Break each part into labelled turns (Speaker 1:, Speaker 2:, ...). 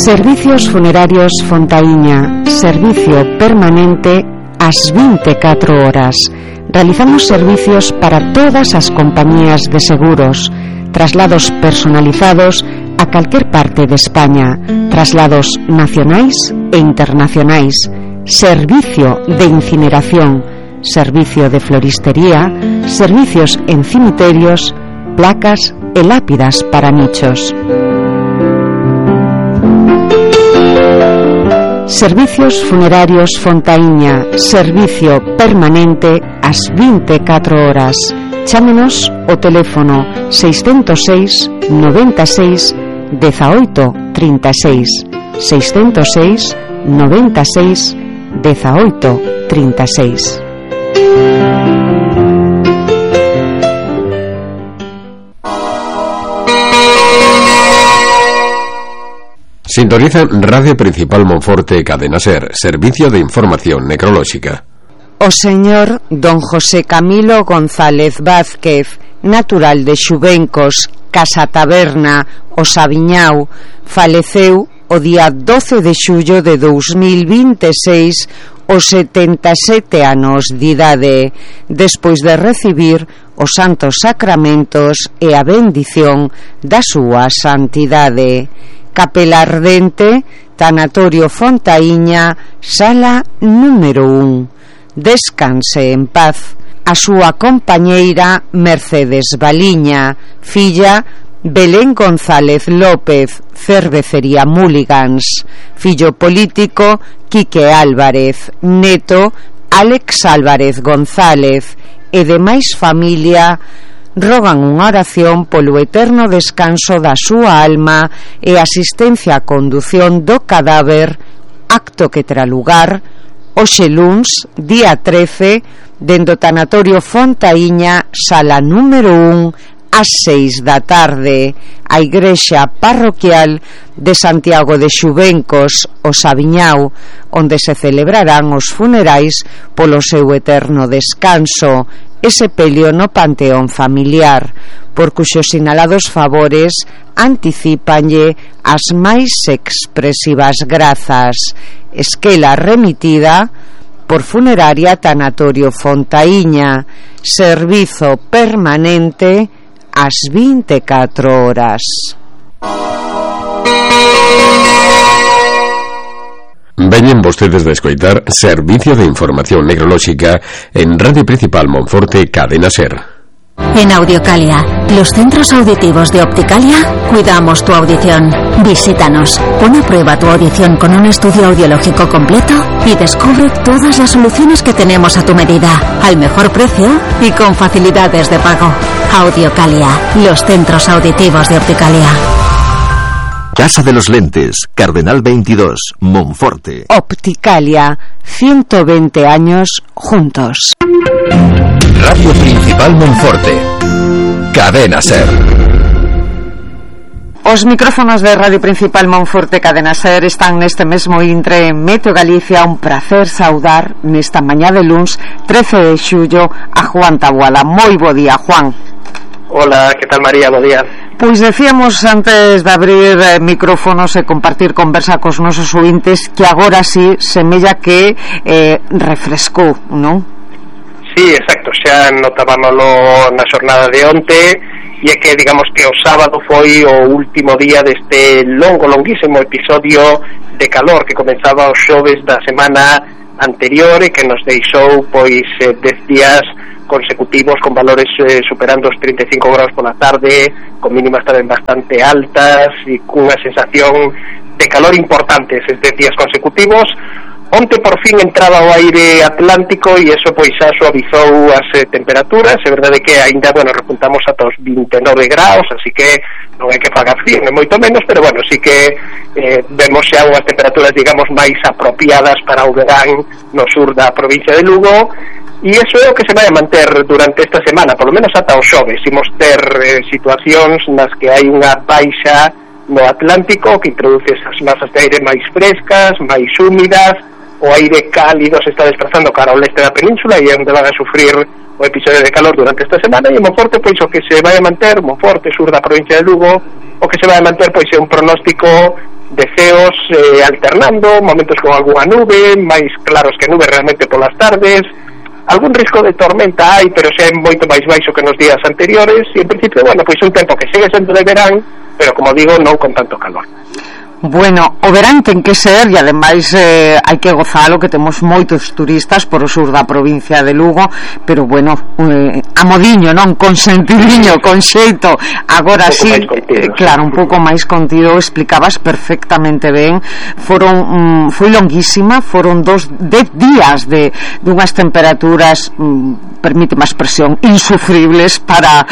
Speaker 1: Servicios Funerarios Fontaíña, servicio permanente ás 24 horas. Realizamos servicios para todas as compañías de seguros, traslados personalizados a calquer parte de España, traslados nacionais e internacionais, servicio de incineración, servicio de floristería, servicios en cimiterios, placas e lápidas para nichos. Servicios Funerarios Fontaíña, servicio permanente ás 24 horas. Chámenos ao teléfono 606 96 18 36, 606 96 18 36.
Speaker 2: Sintoniza Radio Principal Monforte Cadena Ser, servicio de información necrolóxica.
Speaker 1: O señor don José Camilo González Vázquez, natural de Xubencos, Casa Taberna, o Sabiñao, faleceu o día 12 de xullo de 2026 os 77 anos de idade, despois de recibir os santos sacramentos e a bendición da súa santidade. Capela Ardente, Tanatorio Fontaíña, sala número 1. Descanse en paz. A súa compañeira Mercedes Baliña, filla Belén González López, Cervecería Mulligans, fillo político Quique Álvarez, neto Álex Álvarez González e demais familia rogan unha oración polo eterno descanso da súa alma e asistencia a condución do cadáver, acto que terá lugar hoxe luns, día 13, dende o Tanatorio Fontaíña, sala número 1, ás 6 da tarde, a igrexa parroquial de Santiago de Xubencos, o Sabiñao, onde se celebrarán os funerais polo seu eterno descanso e sepelio no panteón familiar, por cuxos sinalados favores anticípanlle as máis expresivas grazas. Esquela remitida por Funeraria Tanatorio Fontaíña, servizo permanente ás 24 horas.
Speaker 2: Veñen vostedes de escoitar Servicio de Información Necrolóxica en Radio Principal Monforte Cadena Ser.
Speaker 3: En Audiocalia, los centros auditivos de Opticalia, cuidamos tu audición. Visítanos, pon a prueba tu audición con un estudio audiológico completo y descubre todas las soluciones que tenemos a tu medida, al mejor precio y con facilidades de pago. Audiocalia, los centros auditivos de Opticalia.
Speaker 4: Casa de los Lentes, Cardenal 22, Monforte.
Speaker 1: Opticalia, 120 años juntos.
Speaker 4: Radio Principal Monforte, Cadena Ser.
Speaker 1: Os micrófonos de Radio Principal Monforte Cadena Ser están neste mesmo intre en Meteo Galicia. Un placer saudar nesta mañá de luns 13 de xullo a Juan Taboada. Moi bo día, Juan.
Speaker 5: Hola, que tal, María? Bo día.
Speaker 1: Pois decíamos antes de abrir micrófonos e compartir conversa cos nosos ouvintes que agora sí semella que refrescou, non?
Speaker 5: Sí, exacto, xa notábamoslo na xornada de onte, e é que digamos que o sábado foi o último día deste longuísimo episodio de calor que comenzaba os xoves da semana anterior e que nos deixou pois 10 días consecutivos con valores superando os 35 graus pola tarde, con mínimas tamén bastante altas e cunha sensación de calor importante eses 10 días consecutivos. Onte por fin entraba o aire atlántico e eso pois xa suavizou as temperaturas. É verdade que aínda, repuntamos ata os 29 graus, así que non hai que fagar frío, non moito menos, pero sí que vemos xa unhas temperaturas, digamos, máis apropiadas para o verán no sur da provincia de Lugo, e iso é o que se vai a manter durante esta semana, polo menos ata os xoves. Imos ter situacións nas que hai unha baixa no Atlántico que introduce esas masas de aire máis frescas, máis húmidas. O aire cálido se está desplazando cara ao leste da península e é onde van a sufrir o episodio de calor durante esta semana. E en Monforte, pois, o que se vai a manter, Monforte, sur da provincia de Lugo, o que se vai a manter, pois, é un pronóstico ceos alternando, momentos con algunha nube, máis claros que nube realmente polas tardes. Algún risco de tormenta hai, pero xa é moito máis baixo que nos días anteriores, e en principio, bueno, pois un tempo que segue sendo de verán, pero como digo, non con tanto calor.
Speaker 1: Bueno, o verán ten que ser, e ademais hai que gozalo, que temos moitos turistas por o sur da provincia de Lugo, pero bueno, a modiño, non? Con sentidiño, con xeito. Agora sí, claro, un pouco máis contido, explicabas perfectamente ben. Foi longuísima, foron 10 días de unhas temperaturas, permíteme a expresión, insufribles para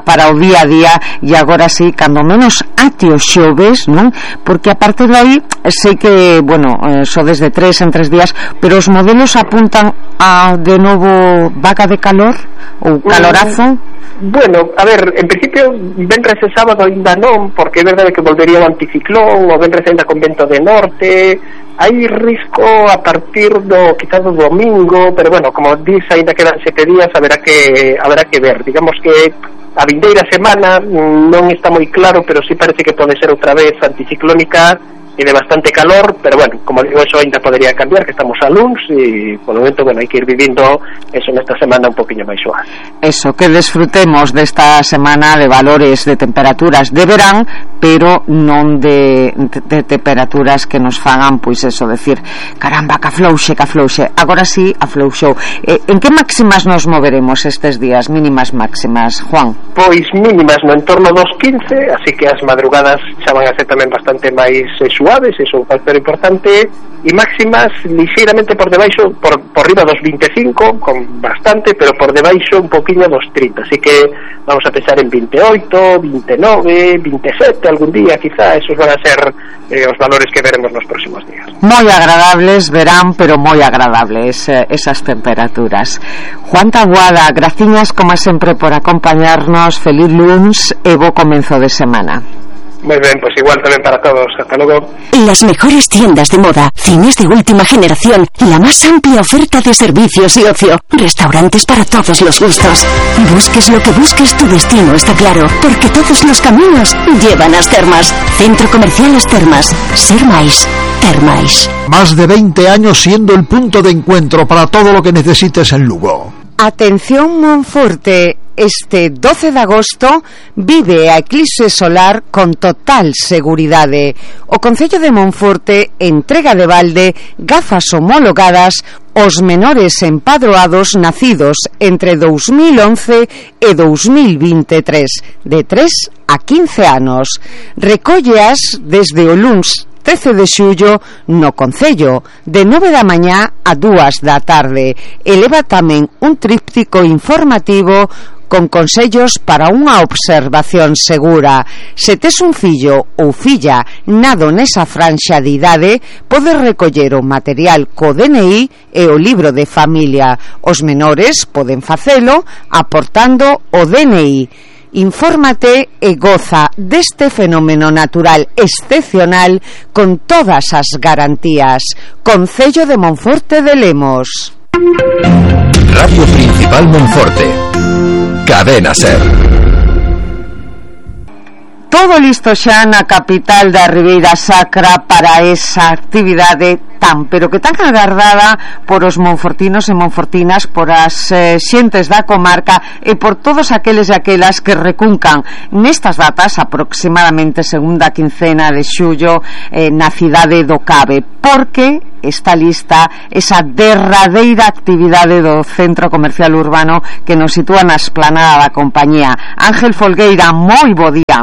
Speaker 1: o día a día, e agora sí, cando menos ate o xove, non? Porque a partir de aí sei que, bueno, só desde 3 en 3 días, pero os modelos apuntan a de novo vaga de calor ou calorazo.
Speaker 5: Bueno, a ver, en principio venres e sábado ainda non, porque é verdade que volvería o anticiclón, o venres ainda con vento de norte. Hai risco a partir quizás do domingo, pero bueno, como dis, ainda quedan 7 días, haberá que ver. Digamos que a vindeira semana non está moi claro, pero sí parece que pode ser outra vez anticiclónica e de bastante calor, pero bueno, como digo, eso ainda podería cambiar, que estamos a luns e por o momento, bueno, hai que ir vivindo eso nesta semana un poquinho máis suave.
Speaker 1: Eso, que desfrutemos desta semana de valores de temperaturas de verán, pero non de temperaturas que nos fagan, pois eso, decir, caramba, que aflouxe. Agora sí, aflouxou. En que máximas nos moveremos estes días, mínimas máximas, Juan?
Speaker 5: Pois mínimas no entorno dos 15, así que as madrugadas xa van a ser tamén bastante máis suaves, eso é un factor importante, e máximas lixeiramente por debaixo, por riba dos 25, con bastante, pero por debaixo un poquinho dos 30, así que vamos a pensar en 28, 29, 27 algún día, quizá, esos van a ser os valores que veremos nos próximos días.
Speaker 1: Moi agradables, verán, pero moi agradables esas temperaturas. Juan Taboada, graciñas como sempre por acompañarnos, feliz luns e bo comenzo de semana.
Speaker 5: Muy bien, pues igual también para todos. Hasta luego.
Speaker 3: Las mejores tiendas de moda, cines de última generación, la más amplia oferta de servicios y ocio, restaurantes para todos los gustos. Busques lo que busques, tu destino está claro, porque todos los caminos llevan a As Termas. Centro Comercial As Termas. Ser máis, ter máis.
Speaker 6: Más de 20 años siendo el punto de encuentro para todo lo que necesites en Lugo.
Speaker 1: Atención Monforte, este 12 de agosto vive a eclipse solar con total seguridade. O Concello de Monforte entrega de balde gafas homologadas aos menores empadroados nacidos entre 2011 e 2023, de 3 a 15 anos. Recólleas desde o luns 13 de xullo no Concello, de 9 da mañá a 2 da tarde. Eleva tamén un tríptico informativo con consellos para unha observación segura. Se tes un fillo ou filla nado nesa franxa de idade, podes recoller o material co DNI e o libro de familia. Os menores poden facelo aportando o DNI. Infórmate e goza deste fenómeno natural excepcional con todas as garantías. Concello de Monforte de Lemos.
Speaker 4: Radio Principal Monforte. Cadena Ser.
Speaker 1: Todo listo xa na capital da Ribeira Sacra para esa actividade pero que tan agardada por os monfortinos e monfortinas, por as xentes da comarca e por todos aqueles e aquelas que recuncan nestas datas, aproximadamente segunda quincena de xullo, na cidade do Cabe, porque está lista esa derradeira actividade do Centro Comercial Urbano que nos sitúa na esplanada da compañía. Ángel Folgueira, moi bo día.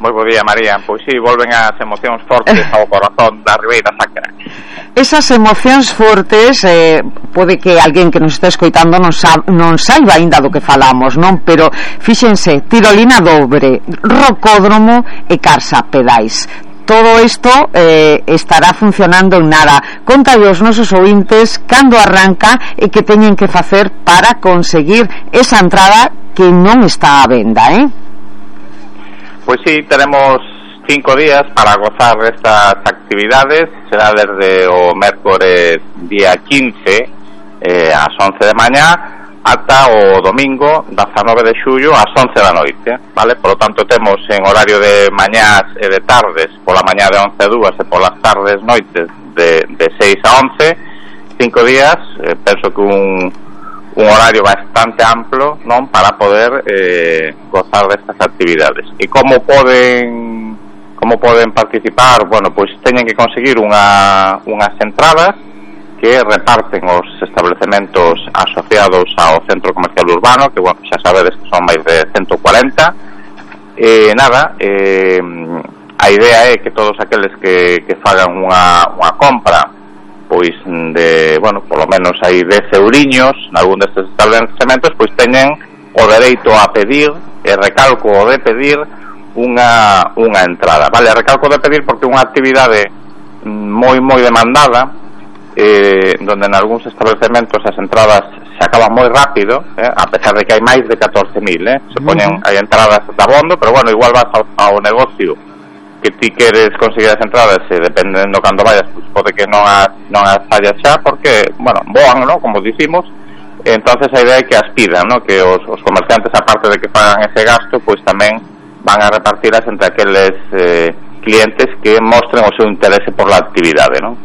Speaker 7: Moi bo día, María. Pois si, volven as emocións fortes ao corazón da Ribeira Sacra.
Speaker 1: Esas emocións fortes, pode que alguén que nos está escoitando non saiba aínda do que falamos, non? Pero fíxense, tirolina dobre, rocódromo e carsa pedais. Todo isto estará funcionando en nada. Contalle aos nosos ouvintes cando arranca e que teñen que facer para conseguir esa entrada que non está á venda,
Speaker 7: Pois sí, tenemos 5 días para gozar destas actividades. Será desde o mércores día 15 ás 11 de mañá ata o domingo 19 de xullo ás 11 da noite, vale? Por lo tanto temos en horario de mañás e de tardes, pola mañá de 11 a 2 e polas tardes noites de 6 a 11, 5 días, penso que un horario bastante amplo, non, para poder gozar destas actividades. E como poden participar? Bueno, pois teñen que conseguir unhas entradas que reparten os establecementos asociados ao Centro Comercial Urbano, que, bueno, xa sabedes que son máis de 140. A idea é que todos aqueles que fagan unha compra, pois de, bueno, polo menos hai 10 euriños nalgún destes establecementos, pois teñen o dereito a pedir, e recalco o de pedir, unha entrada, vale? Recalco de pedir porque é unha actividade moi demandada, donde en algúns establecementos as entradas se acaban moi rápido, a pesar de que hai máis de 14.000, se poñen, hai entradas de abondo, pero bueno, igual vas ao negocio que ti queres conseguir as entradas, e dependendo cando vayas, pues pode que non as fallas xa, porque, bueno, voan, ¿no?, como dicimos. Entonces a idea é que as pidan, ¿no?, que os comerciantes, aparte de que pagan ese gasto, pues tamén van a repartirlas entre aqueles clientes que mostren o seu interese por la actividade, ¿no?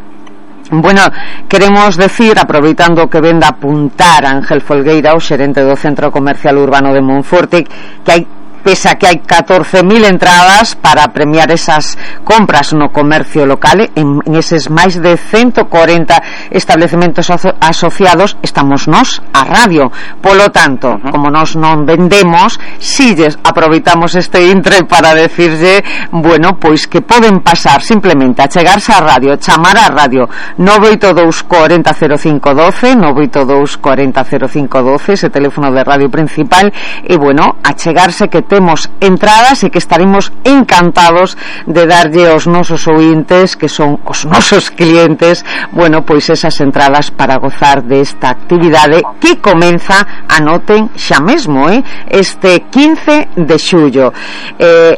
Speaker 1: Bueno, queremos decir, aproveitando que ven de apuntar Ángel Folgueira, o xerente do Centro Comercial Urbano de Monforte, que hai, pese a que hai 14.000 entradas para premiar esas compras no comercio local, en eses máis de 140 establecementos asociados estamos nós, a radio. Polo tanto, como nós non vendemos, si aproveitamos este intre para decirlle, bueno, pois que poden pasar simplemente a chegarse á radio, chamar á radio 982 40 05 12, 982 40 05 12, ese teléfono de radio principal, e bueno, a chegarse, que temos entradas e que estaremos encantados de darlle aos nosos ointes, que son os nosos clientes, bueno, pois esas entradas para gozar desta actividade que comeza, anoten xa mesmo, este 15 de xullo.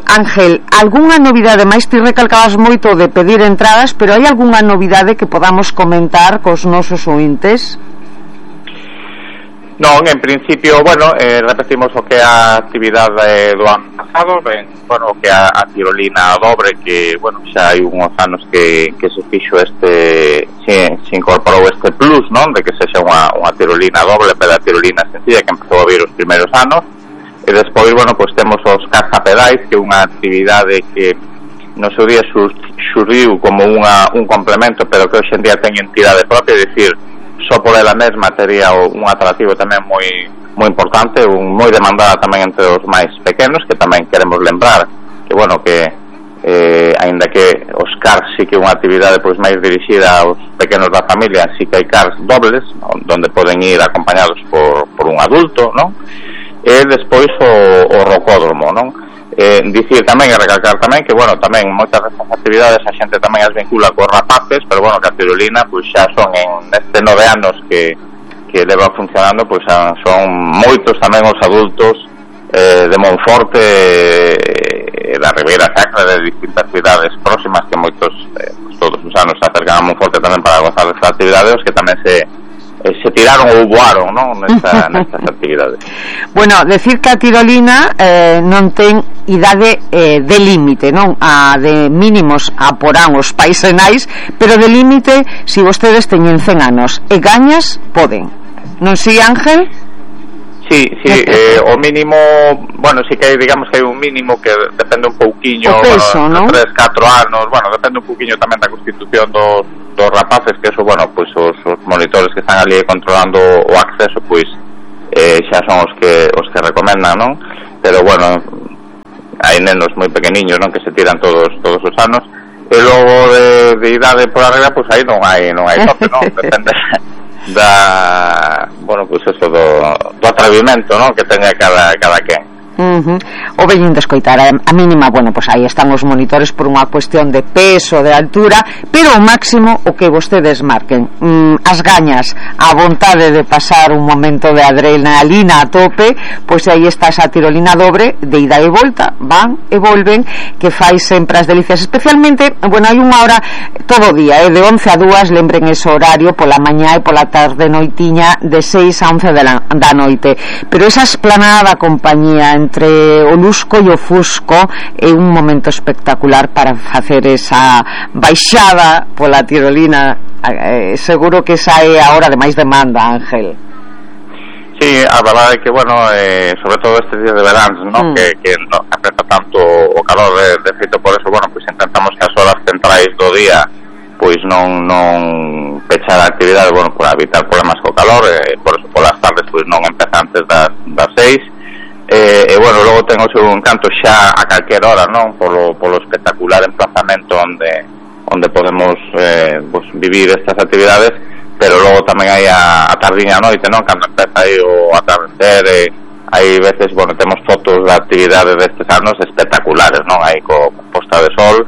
Speaker 1: Ángel, algunha novidade máis? Ti recalcabas moito de pedir entradas, pero hai algunha novidade que podamos comentar cos nosos ointes?
Speaker 7: Non, en principio, bueno, repetimos o que a actividade do ano pasado, bueno, que a tirolina dobre, que, bueno, xa hai uns anos que se fixo se incorporou este plus, non, de que sexa unha tirolina dobre, pero a tirolina sencilla, que empezou a vir os primeiros anos, e despois, bueno, pois temos os cargapedais, que é unha actividade que no seu día xurdiu como un complemento, pero que hoxe en día ten entidade propia, é dicir, só por ela mesma tería un atractivo tamén moi importante, moi demandada tamén entre os máis pequenos, que tamén queremos lembrar que, bueno, que aínda que os cars sí que é unha actividade pois máis dirixida aos pequenos da familia, sí que hai cars dobles, onde poden ir acompañados por un adulto, non? E despois o rocódromo, non? Dicir tamén e recalcar tamén que, bueno, tamén moitas destas actividades a xente tamén as vincula cos rapaces, pero, bueno, que a tirolina pois xa son nestes 9 anos que leva funcionando, pois son moitos tamén os adultos de Monforte e da Ribeira Sacra, de distintas cidades próximas, que moitos todos os anos se acercan a Monforte tamén para gozar destas actividades, os que tamén se tiraron ou voaron, non, nestas actividades.
Speaker 1: Bueno, decir que a tirolina non ten idade de límite, non? A de mínimos aporán os pais e nais, pero de límite se vostedes teñen 100 anos e gañas, poden. Non si, Ángel?
Speaker 7: Sí, o mínimo, bueno, sí que hai, digamos que hai un mínimo que depende un pouquiño,
Speaker 1: o peso,
Speaker 7: bueno,
Speaker 1: ¿no?
Speaker 7: 3-4 anos, bueno, depende un pouquiño tamén da constitución dos rapaces, que eso, bueno, pois os monitores que están ali controlando o acceso, pois xa son os que recomendan, non? Pero, bueno, hai nenos moi pequeniños, non, que se tiran todos os anos, e logo de idade por arriba, pois aí non hai tope, non? Depende bueno, pois eso do atrevimento, non, que teña cada quen.
Speaker 1: O veñen de escoitar a mínima, bueno, pois aí están os monitores por unha cuestión de peso, de altura, pero o máximo o que vostedes marquen, as gañas, a vontade de pasar un momento de adrenalina a tope, pois aí está esa tirolina dobre de ida e volta, van e volven, que fai sempre as delicias, especialmente, bueno, hai unha hora todo o día, de 11 a 2, lembren ese horario pola mañá e pola tarde noitiña de 6 a 11 da noite, pero esa esplanada da compañía entre o Lusco e o Fusco é un momento espectacular para facer esa baixada pola tirolina. Seguro que esa é a hora de máis demanda, Ángel.
Speaker 7: Sí, a verdade é que, bueno, sobre todo estes días de verán, ¿no? Que no afecta tanto o calor, de feito por eso, bueno, pues intentamos que as horas centrais do día pois non pechar a actividade, bueno, para evitar problemas co calor, por eso polas tardes pois non empeza antes das 6. E bueno, logo ten o seu encanto xa a calquer hora, non? Polo espectacular emplazamento onde podemos pues, vivir estas actividades, pero logo tamén hai a tardiña a noite, non? Cando empeza aí o atardecer, hai veces, bueno, temos fotos da actividade destes anos espectaculares, non? Aí co posta de sol,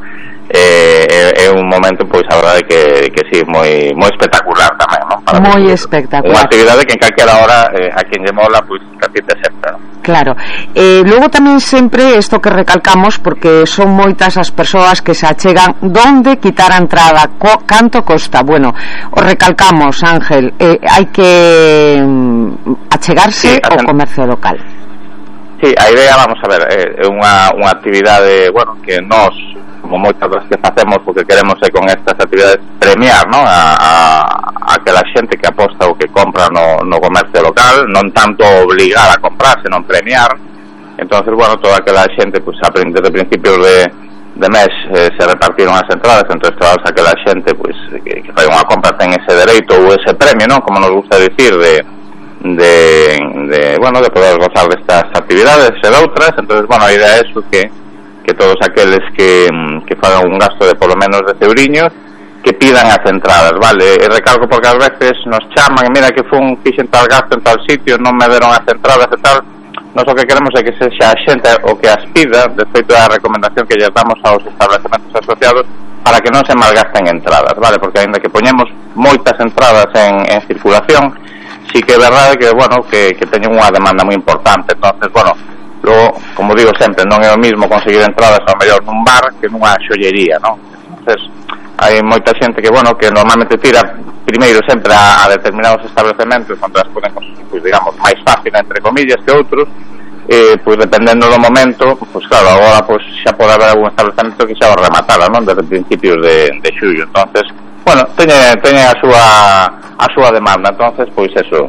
Speaker 7: é un momento, pois, a verdade que sí, moi espectacular tamén, non?
Speaker 1: Moi espectacular.
Speaker 7: Unha actividade que en calquera hora a quen lle mola, pois, repite sempre, non?
Speaker 1: Claro, logo tamén sempre isto que recalcamos, porque son moitas as persoas que se achegan donde quitar a entrada, canto costa. Bueno, o recalcamos, Ángel, hai que achegarse ao comercio local.
Speaker 7: Sí, a idea, vamos a ver, é unha actividade, bueno, que nós, como moitas das que facemos, porque queremos con estas actividades premiar, non? A que a xente que aposta ou que compra no comercio local, non tanto obligar a comprar, senón premiar. Entonces, bueno, toda aquela xente, pues, desde principios de mes se repartiron as entradas, entonces toda aquela xente, pues, que fai unha compra ten ese dereito ou ese premio, non? Como nos gusta dicir, bueno, de poder gozar destas actividades e de outras. Entonces, bueno, a idea é eso, que todos aqueles que fagan un gasto de polo menos 10 euriños, que pidan as entradas, vale? E recalco porque ás veces nos chaman, mira que fixen tal gasto en tal sitio, non me deron as entradas e tal. Nós o que queremos é que sexa a xente o que as pida, de feito a recomendación que lle damos aos establecementos asociados, para que non se malgasten entradas, vale? Porque aínda que poñemos moitas entradas en circulación, sí que é verdade que, bueno, que teñen unha demanda moi importante. Entonces, bueno, logo, como digo sempre, non é o mismo conseguir entradas ao mellor nun bar que nunha xollería, non? Entonces, hai moita xente que, bueno, que normalmente tira primeiro sempre a determinados establecementos onde as poden conseguir, pues, digamos, máis fácil, entre comillas, que outros, pois dependendo do momento, pois claro, agora pois xa pode haber algún establecemento que xa o rematara, non? Desde principios de xullo. Entonces, bueno, teñen a súa demanda. Entonces, pois eso,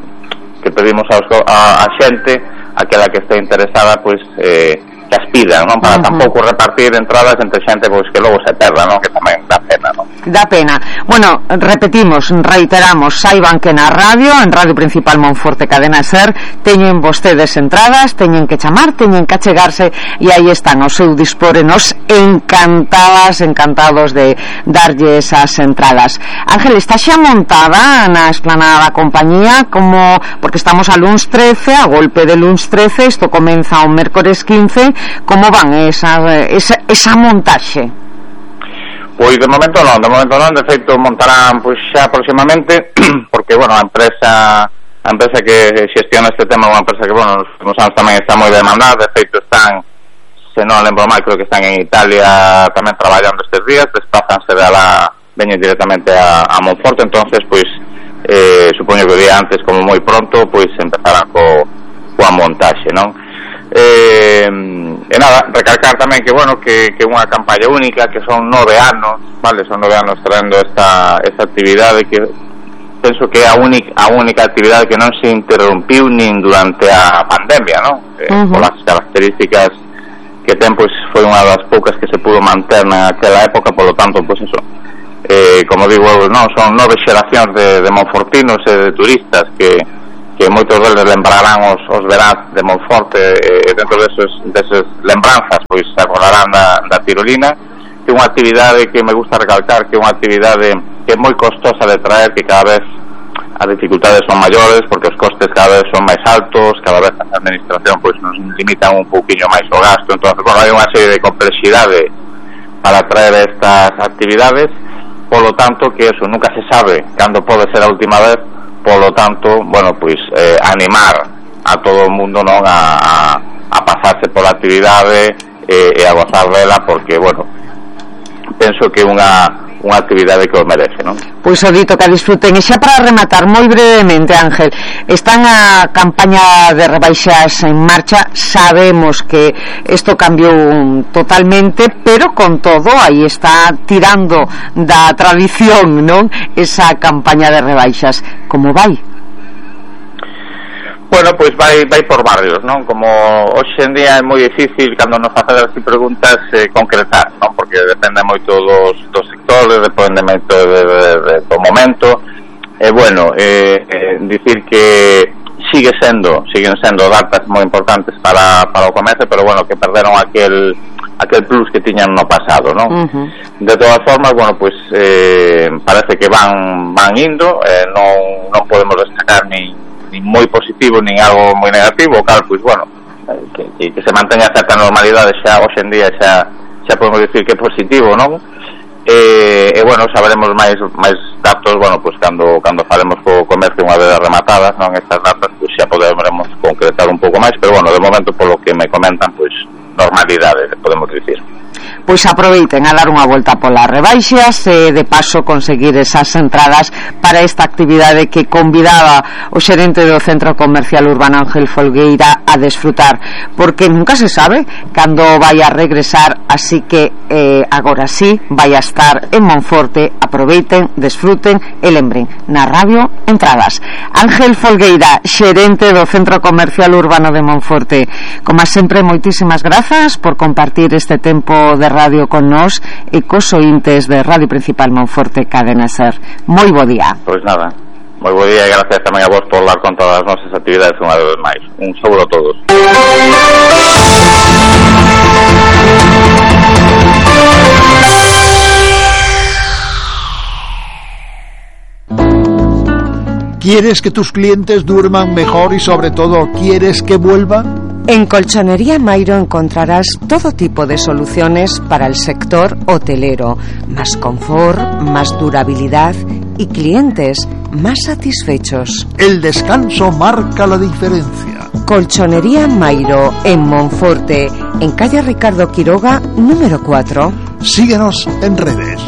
Speaker 7: que pedimos a xente, aquela que este interesada, pois que as pidan, non? Para tampouco repartir entradas entre xente pois que logo se perda, non? Que tamén dá pena, non?
Speaker 1: Dá pena. Bueno, repetimos, reiteramos, saiban que na radio, en Radio Principal Monforte Cadena Ser, teñen vostedes entradas, teñen que chamar, teñen que achegarse, e aí están ao seu dispor, e nos encantados de darlle esas entradas. Ángel, está xa montada na esplanada da compañía, como, porque estamos a luns 13, a golpe de luns 13, isto comeza o mércores 15. Como van esa montaxe?
Speaker 7: Pois de momento non, de feito montarán pois xa próximamente, porque, bueno, a empresa que xestiona este tema é unha empresa que, bueno, nos últimos anos tamén está moi demandada. De feito están, se non lembro mal, creo que están en Italia tamén traballando estes días, desplázanse veñen directamente a Monforte. Entonces, pois supoño que o día antes, como moi pronto, pois empezarán coa montaxe, non? E nada, recalcar tamén que, bueno, que unha campaña única, que son 9 anos, vale, son 9 anos traendo esta actividade, que penso que é a única actividade que non se interrompiu nin durante a pandemia, non? Polas características que ten, pois foi unha das poucas que se pudo manter naquela época, polo tanto, pois eso, como digo, non, son 9 xeracións de monfortinos e de turistas que moitos deles lembrarán os veráns de Monforte, e dentro deses lembranzas pois se acordarán da tirolina, que é unha actividade que me gusta recalcar, que é unha actividade que é moi costosa de traer, que cada vez as dificultades son maiores porque os costes cada vez son máis altos, cada vez a administración pois nos limitan un pouquiño máis o gasto, entón, bueno, hai unha serie de complexidade para traer estas actividades, polo tanto que eso nunca se sabe cando pode ser a última vez, polo tanto, bueno, pois animar a todo o mundo, non, a pasarse pola actividade e a gozar dela, porque, bueno, penso que é unha actividade que o merece, non?
Speaker 1: Pois o dito que a disfruten. E xa para rematar moi brevemente, Ángel, están a campaña de rebaixas en marcha, sabemos que isto cambiou totalmente, pero con todo aí está tirando da tradición, non? Esa campaña de rebaixas. Como vai?
Speaker 7: Bueno, pois vai por barrios, non? Como hoxe en día é moi difícil cando nos facen así preguntas concretar, non? Porque depende moito dos sectores, depende moito do momento. Bueno, dicir que siguen sendo datas moi importantes para o comercio, pero bueno, que perderon aquel plus que tiñan no pasado, non? De todas formas, bueno, pues parece que van indo, non podemos destacar nin moi positivo nin algo moi negativo, claro, pois bueno, que se manteña certa normalidade xa hoxe en día xa podemos dicir que é positivo, non? E bueno, saberemos máis datos, bueno, pois cando falemos co comercio unha vez rematadas, non, estas datas, pois xa poderemos concretar un pouco máis, pero bueno, de momento polo que me comentan, pois normalidade, podemos dicir.
Speaker 1: Pois aproveiten a dar unha volta polas rebaixas e de paso conseguir esas entradas para esta actividade que convidaba o xerente do Centro Comercial Urbano Ángel Folgueira a desfrutar, porque nunca se sabe cando vai a regresar, así que agora sí vai a estar en Monforte. Aproveiten, desfruten e lembren, na radio entradas. Ángel Folgueira, xerente do Centro Comercial Urbano de Monforte, como sempre, moitísimas grazas por compartir este tempo de radio con nós e cos ointes de Radio Principal Monforte Cadena Ser. Moi bo día.
Speaker 7: Pois nada, moi bo día e gracias tamén a vos por dar con todas as nosas actividades unha vez máis. Un saúdo a todos.
Speaker 6: ¿Quieres que tus clientes duerman mejor y sobre todo quieres que vuelvan?
Speaker 1: En Colchonería Mairo encontrarás todo tipo de soluciones para el sector hotelero, más confort, más durabilidad y clientes más satisfechos.
Speaker 6: El descanso marca la diferencia.
Speaker 1: Colchonería Mairo en Monforte, en calle Ricardo Quiroga, número 4.
Speaker 6: Síguenos en redes.